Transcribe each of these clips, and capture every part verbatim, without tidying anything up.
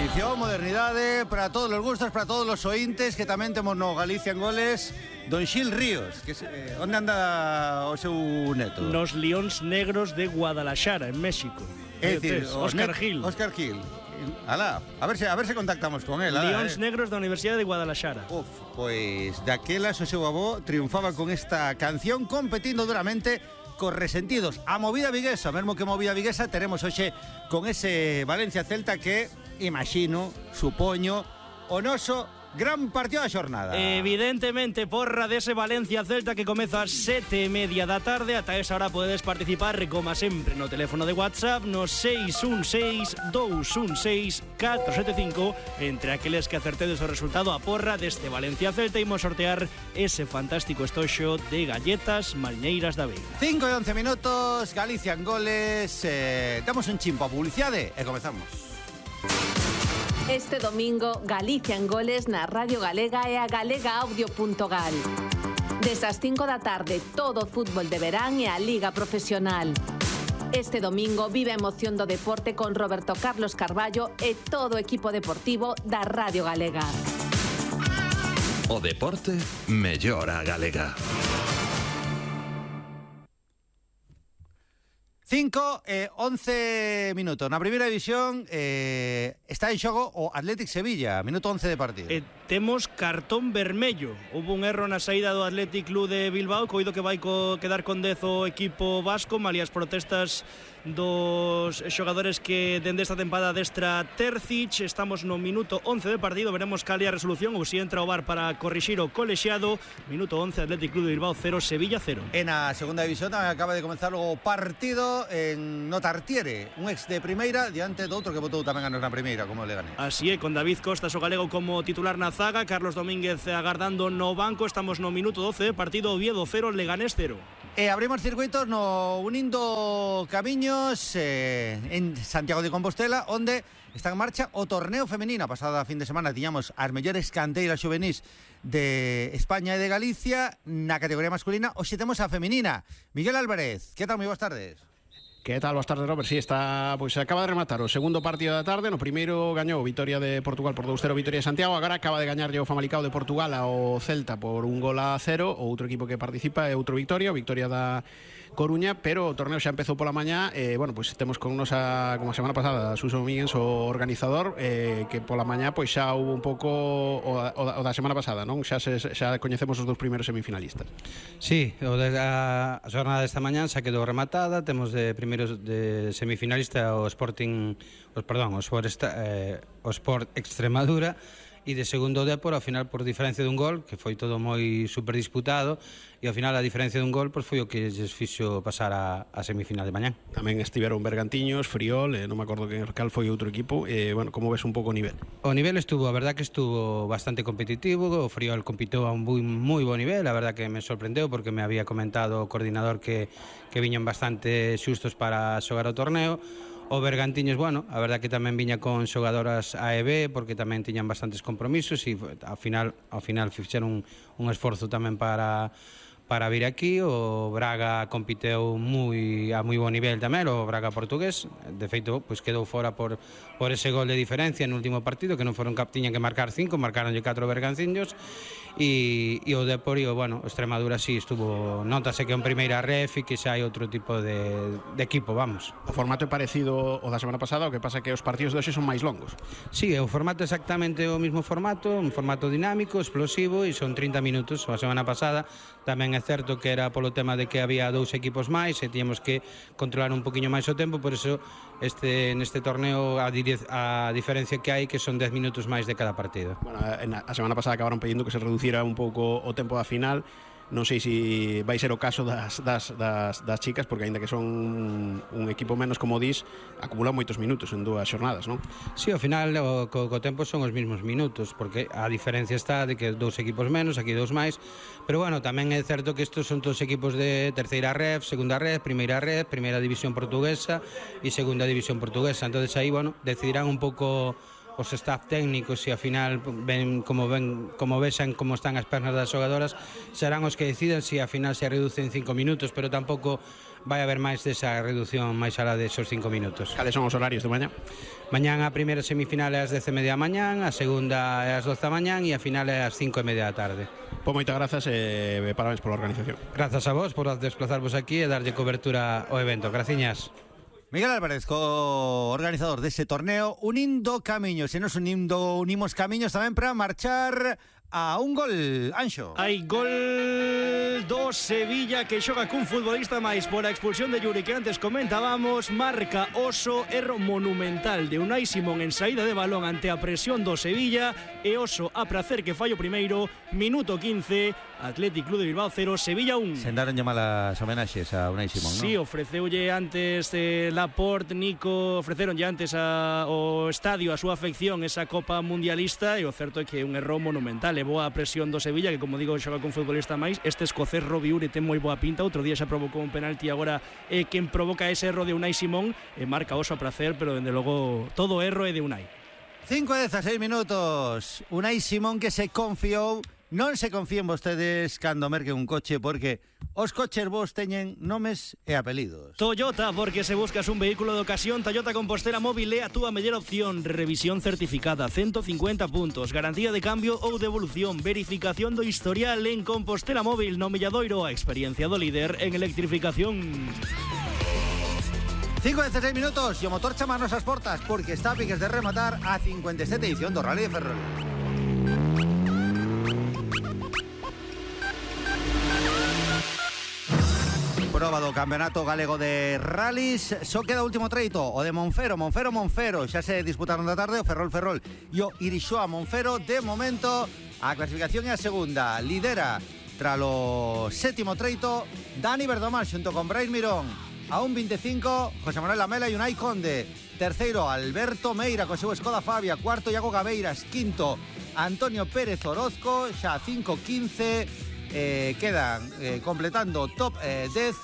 Tradición, modernidade, para todos os gustos, para todos os ointes, que tamén temos no Galicia en Goles Don Xil Ríos, que se, eh, onde anda o seu neto? Nos Leóns Negros de Guadalajara, en México. É dicir, Óscar Gil. Óscar Gil. Alá, a ver se a ver se contactamos con él. Leóns eh. Negros da Universidade de Guadalajara. Uf, pois daquelas o seu avó triunfaba con esta canción competindo duramente cos resentidos. A movida viguesa, mesmo que movida viguesa, teremos hoxe con ese Valencia Celta que, imagino, supoño, o noso gran partido da xornada. Evidentemente, porra dese Valencia Celta que comeza ás sete e media da tarde. Ata esa hora podedes participar, como sempre, no teléfono de WhatsApp no seis un seis, dous un seis, catro sete cinco. Entre aqueles que acertedes o resultado a porra deste Valencia Celta, imos sortear ese fantástico estoxo de galletas marineiras da Veiga. cinco e once minutos, Galicia en Goles. eh, Damos un chimpo a publicidade e comezamos. Este domingo, Galicia en Goles na Radio Galega e a galega audio punto gal. Desas cinco da tarde, todo o fútbol de verán e a Liga Profesional. Este domingo vive a emoción do deporte con Roberto Carlos Carballo e todo o equipo deportivo da Radio Galega. O deporte mellora a galega. cinco e once minutos. Na primeira división eh, está en xogo o Athletic Sevilla, minuto once de partido. E temos cartón vermello. Hubo un erro na saída do Athletic Club de Bilbao, coido que vai co quedar con dez o equipo vasco, malia as protestas dos xogadores que dende esta tempada destra Terzic. Estamos no minuto once de partido, veremos cal é a resolución ou si entra o V A R para corrixir o colexiado. Minuto once, Athletic Club de Bilbao cero, Sevilla cero. En a segunda división acaba de comenzar o partido en Notartiere, un ex de primeira diante do outro que botou tamén a na primeira, como o Leganés. Así é, con David Costas o galego como titular na zaga, Carlos Domínguez agardando no banco. Estamos no minuto doce de partido, Oviedo cero, Leganés cero. E abrimos circuitos no Unindo Camiños eh, en Santiago de Compostela, onde está en marcha o torneo femenino. A pasada fin de semana tiñamos as mellores canteiras xuvenís de España e de Galicia. Na categoría masculina, hoxe temos a femenina. Miguel Álvarez, que tal? Moi boas tardes. Que tal? Boas tardes, Robert. Si, sí, está, pois, acaba de rematar o segundo partido da tarde. No primeiro gañou Vitoria de Portugal por dous cero, Vitoria de Santiago. Agora acaba de gañar o Famalicao de Portugal ao Celta por un gol a cero. O outro equipo que participa é outro Victoria, o Victoria da Coruña, pero o torneo xa empezou pola mañá. eh, bueno, pois temos con nos a, como a semana pasada, Suso Míguez, o organizador, eh, que pola mañá pois xa houve un pouco o, o, o da semana pasada, non? Xa se, xa coñecemos os dous primeiros semifinalistas. Sí, o de a, a xornada desta mañá xa quedou rematada. Temos de primeiros de semifinalista o Sporting, os perdón, o Sport, eh, o Sport Extremadura, e de segundo o Depor, ao final por diferencia dun gol, que foi todo moi super disputado, e ao final a diferencia dun gol pois foi o que lles fixo pasar a, a semifinal de mañá. Tamén estiveron Bergantiños, Friol, eh, non me acordo que cal foi outro equipo. eh, bueno, como ves un pouco o nivel? O nivel estuvo, a verdad que estuvo bastante competitivo. O Friol compitió a un moi, moi bo nivel, a verdad que me sorprendeu porque me había comentado o coordinador que, que viñan bastante xustos para xogar o torneo. O Bergantiños, bueno, a verdad que tamén viña con xogadoras A e B porque tamén tiñan bastantes compromisos e ao final ao final fixeron un, un esforzo tamén para para vir aquí. O Braga compiteu moi a moi bo nivel tamén, o Braga portugués. De feito, pois quedou fora por por ese gol de diferencia no último partido, que non foron cap, tiñan que marcar cinco, marcaronlle catro Bergantiños. E, e o Depor, bueno, o Extremadura sí estuvo, notase que é en primeira ref e que xa hai outro tipo de, de equipo, vamos. O formato é parecido ao da semana pasada, o que pasa é que os partidos de hoxe son máis longos. Sí, o formato é exactamente o mismo formato, un formato dinámico, explosivo, e son trinta minutos. A semana pasada tamén é certo que era polo tema de que había dous equipos máis e tíamos que controlar un poquinho máis o tempo, por eso este neste torneo a, a diferencia que hai que son dez minutos máis de cada partido. Bueno, a, a semana pasada acabaron pedindo que se reducira un pouco o tempo da final. Non sei se vai ser o caso das, das, das, das chicas, porque aínda que son un equipo menos, como dis, acumulan moitos minutos en dúas xornadas, non? Sí, ao final o, co, co tempo son os mesmos minutos, porque a diferencia está de que dous equipos menos, aquí dous máis, pero bueno, tamén é certo que estos son todos equipos de terceira ref, segunda ref, primeira ref, primeira división portuguesa e segunda división portuguesa, entonces aí, bueno, decidirán un pouco os staff técnicos e ao final ven como ven como vexan como están as pernas das xogadoras, serán os que decidan se ao final se reducen cinco minutos, pero tampouco vai haber máis desa reducción máis alá desos cinco minutos. Cales son os horarios de mañá? Mañán a primeira semifinal é ás dez e media da mañán, a segunda é ás doce da mañán e a final é ás cinco e media da tarde. Pois moitas grazas e parabéns pola organización. Grazas a vos por desplazarvos aquí e darlle cobertura ao evento. Graciñas. Miguel Álvarez, co-organizador dese torneo, unindo camiños, e nos unindo, unimos camiños tamén para marchar a un gol, Anxo. Hai gol do Sevilla que xoga cun futbolista máis por a expulsión de Yuri que antes comentábamos. Marca Oso, erro monumental de Unai Simón en saída de balón ante a presión do Sevilla, e Oso a pracer que fallo primeiro. Minuto quince, Athletic Club de Bilbao cero, Sevilla un. Sendaron malas homenaxes a Unai Simón, non? Sí, ofreceulle antes eh, Laporte, Nico, ofreceronlle antes a, o estadio a súa afección esa Copa Mundialista, e o certo é que é un erro monumental. E boa presión do Sevilla, que como digo xoga con futbolista máis. Este escocés Robbie Uri ten moi boa pinta, outro día xa provocou un penalti, agora é quen provoca ese erro de Unai Simón, e marca Oso a pracer, pero dende logo todo erro é de Unai. cinco e dezasseis minutos, Unai Simón que se confiou. Non se confíen vostedes cando merquen un coche, porque os coches vos teñen nomes e apelidos. Toyota, porque se buscas un vehículo de ocasión, Toyota Compostela Móvil é a túa mellor opción. Revisión certificada, ciento cincuenta puntos, garantía de cambio ou devolución, verificación do historial en Compostela Móvil no Milladoiro, a experiencia do líder en electrificación. cinco e dezasseis minutos e o motor chamanos as portas, porque está a piques de rematar a cincuenta e sete edición do Rally de Ferrol. Proba do Campeonato Galego de Rallys. Só queda o último treito, o de Monfero, Monfero, Monfero. Xa se disputaron da tarde o Ferrol, Ferrol e o Irixoa Monfero. De momento, a clasificación é a segunda. Lidera tralo sétimo treito Dani Verdomar xunto con Brais Mirón. A un veinticinco, José Manuel Lamela e Unai Conde. Terceiro, Alberto Meira co seu Skoda Fabia. Cuarto, Iago Gabeiras. Quinto, Antonio Pérez Orozco. Xa cinco quince. Eh, quedan eh, completando top eh, dez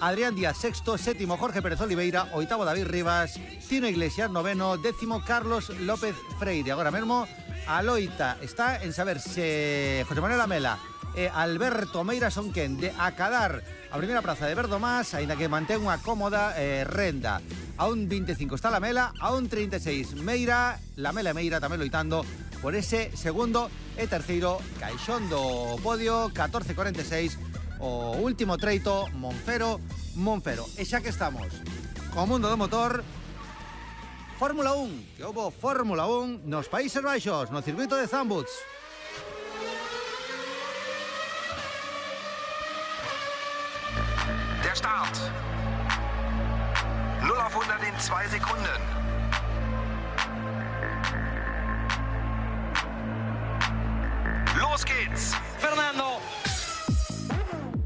Adrián Díaz sexto, séptimo Jorge Pérez Oliveira, oitavo David Rivas, Tino Iglesias noveno, décimo Carlos López Freire. Agora mesmo a loita está en saber se José Manuel Lamela e Alberto Meira son quen de acadar a primeira praza de Verdomás, aínda que mantén unha cómoda eh, renda. A un veinticinco está Lamela, a un treinta e seis Meira, Lamela e Meira tamén loitando por ese segundo e terceiro caixón do podio. Catorce cuarenta e seis o último treito, Monfero, Monfero. E xa que estamos co mundo do motor, Fórmula un, que houbo Fórmula un nos Países Baixos, no circuito de Zandvoort. Der Start. null auf hundert in zwei Sekunden. Los geht's. Fernando.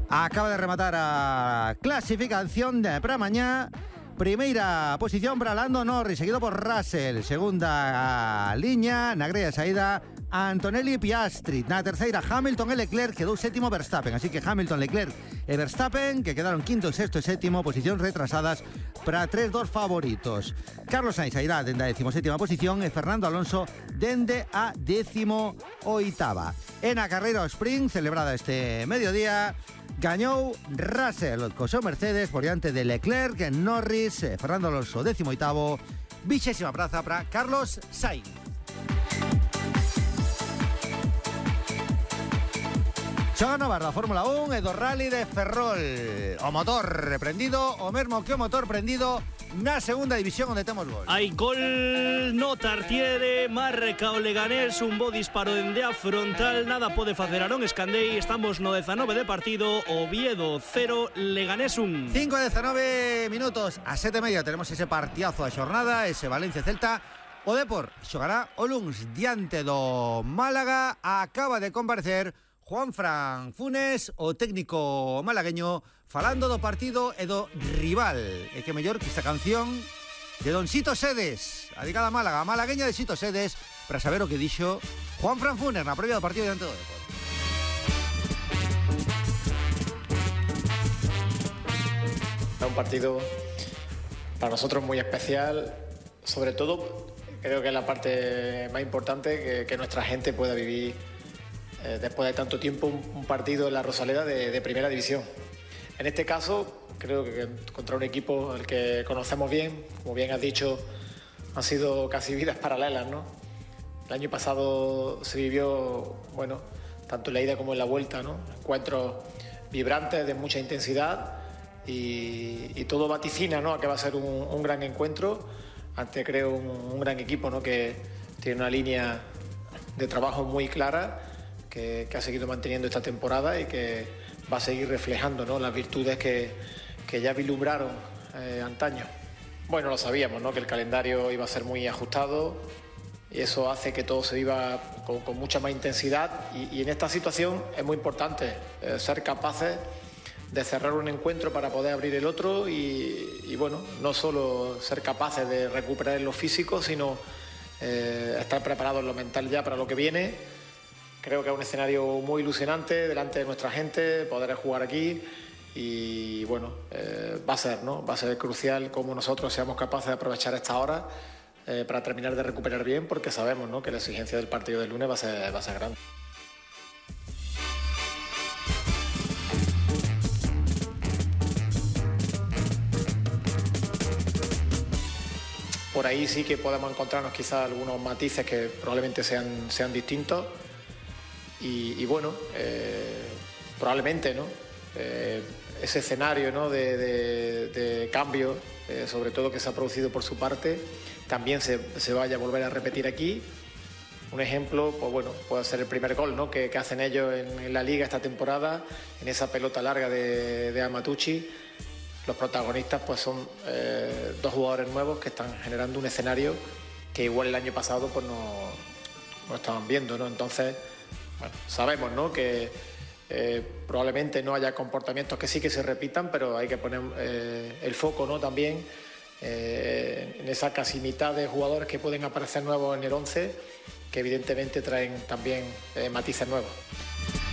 Acaba de rematar a clasificación de para mañá. Primeira posición para Lando Norris, seguido por Russell. Segunda liña, na grella saída, Antonelli e Piastri. Na terceira, Hamilton e Leclerc, quedou sétimo Verstappen. Así que Hamilton, Leclerc e Verstappen, que quedaron quinto, sexto e sétimo, posicións retrasadas para tres dos favoritos. Carlos Sainz sairá dende a décimo sétima posición e Fernando Alonso dende a décimo oitava. En a carreira sprint, celebrada este mediodía, gañou Russell co seu Mercedes por diante de Leclerc, Norris, Fernando Alonso décimo oitavo, vixésima praza para Carlos Sainz. Xoga novas da Fórmula un e do Rally de Ferrol. O motor reprendido, o mesmo que o motor prendido na segunda división onde temos gol. Hai gol no Tartiere, marca o Leganés, un bo disparo dende a frontal, nada pode facer Arón Escandei. Estamos no dezanove de partido, Oviedo cero, Leganés un. cinco e dezanove minutos, a sete e media tenemos ese partidazo da xornada, ese Valencia-Celta. O Depor xogará o luns diante do Málaga. Acaba de comparecer Juanfran Funes, o técnico malagueño, falando do partido e do rival. E que mellor que esta canción de Don Sito Sedes, dedicada a Málaga, a malagueña de Sito Sedes, para saber o que dixo Juanfran Funes na previa do partido diante do Depor. Un partido para nosotros muy especial, sobre todo creo que es la parte más importante, que, que nuestra gente pueda vivir eh, después de tanto tiempo un, un partido en la Rosaleda de, de primera división. En este caso, creo que contra un equipo al que conocemos bien, como bien has dicho, han sido casi vidas paralelas, ¿no? El año pasado se vivió, bueno, tanto en la ida como en la vuelta, ¿no? Encuentros vibrantes, de mucha intensidad, y, y todo vaticina, ¿no?, a que va a ser un, un gran encuentro ante, creo, un, un gran equipo, ¿no?, que tiene una línea de trabajo muy clara, que, que ha seguido manteniendo esta temporada y que va a seguir reflejando, ¿no?, las virtudes que, que ya vislumbraron eh, antaño. Bueno, lo sabíamos, ¿no?, que el calendario iba a ser muy ajustado, y eso hace que todo se viva con, con mucha más intensidad, y, y en esta situación es muy importante eh, ser capaces de cerrar un encuentro para poder abrir el otro, y, y bueno, no solo ser capaces de recuperar en lo físico, sino eh, estar preparados en lo mental ya para lo que viene. Creo que es un escenario muy ilusionante delante de nuestra gente, poder jugar aquí, y bueno, eh, va a ser, ¿no? Va a ser crucial cómo nosotros seamos capaces de aprovechar esta hora eh, para terminar de recuperar bien, porque sabemos, ¿no?, que la exigencia del partido del lunes va a ser, va a ser grande. Por ahí sí que podemos encontrarnos quizás algunos matices que probablemente sean, sean distintos, y, y bueno, eh, probablemente, ¿no?, eh, ese escenario, ¿no?, de, de, de cambio, eh, sobre todo que se ha producido por su parte, también se, se vaya a volver a repetir aquí. Un ejemplo, pues bueno, puede ser el primer gol, ¿no?, que, que hacen ellos en, en la Liga esta temporada, en esa pelota larga de, de Amatucci. Los protagonistas pues son eh, dos jugadores nuevos que están generando un escenario que igual el año pasado pues no, no estaban viendo, ¿no? Entonces, bueno, sabemos, ¿no?, que eh, probablemente no haya comportamientos que sí que se repitan, pero hay que poner eh, el foco, ¿no?, también eh, en esa casi mitad de jugadores que pueden aparecer nuevos en el once, que evidentemente traen también eh, matices nuevos.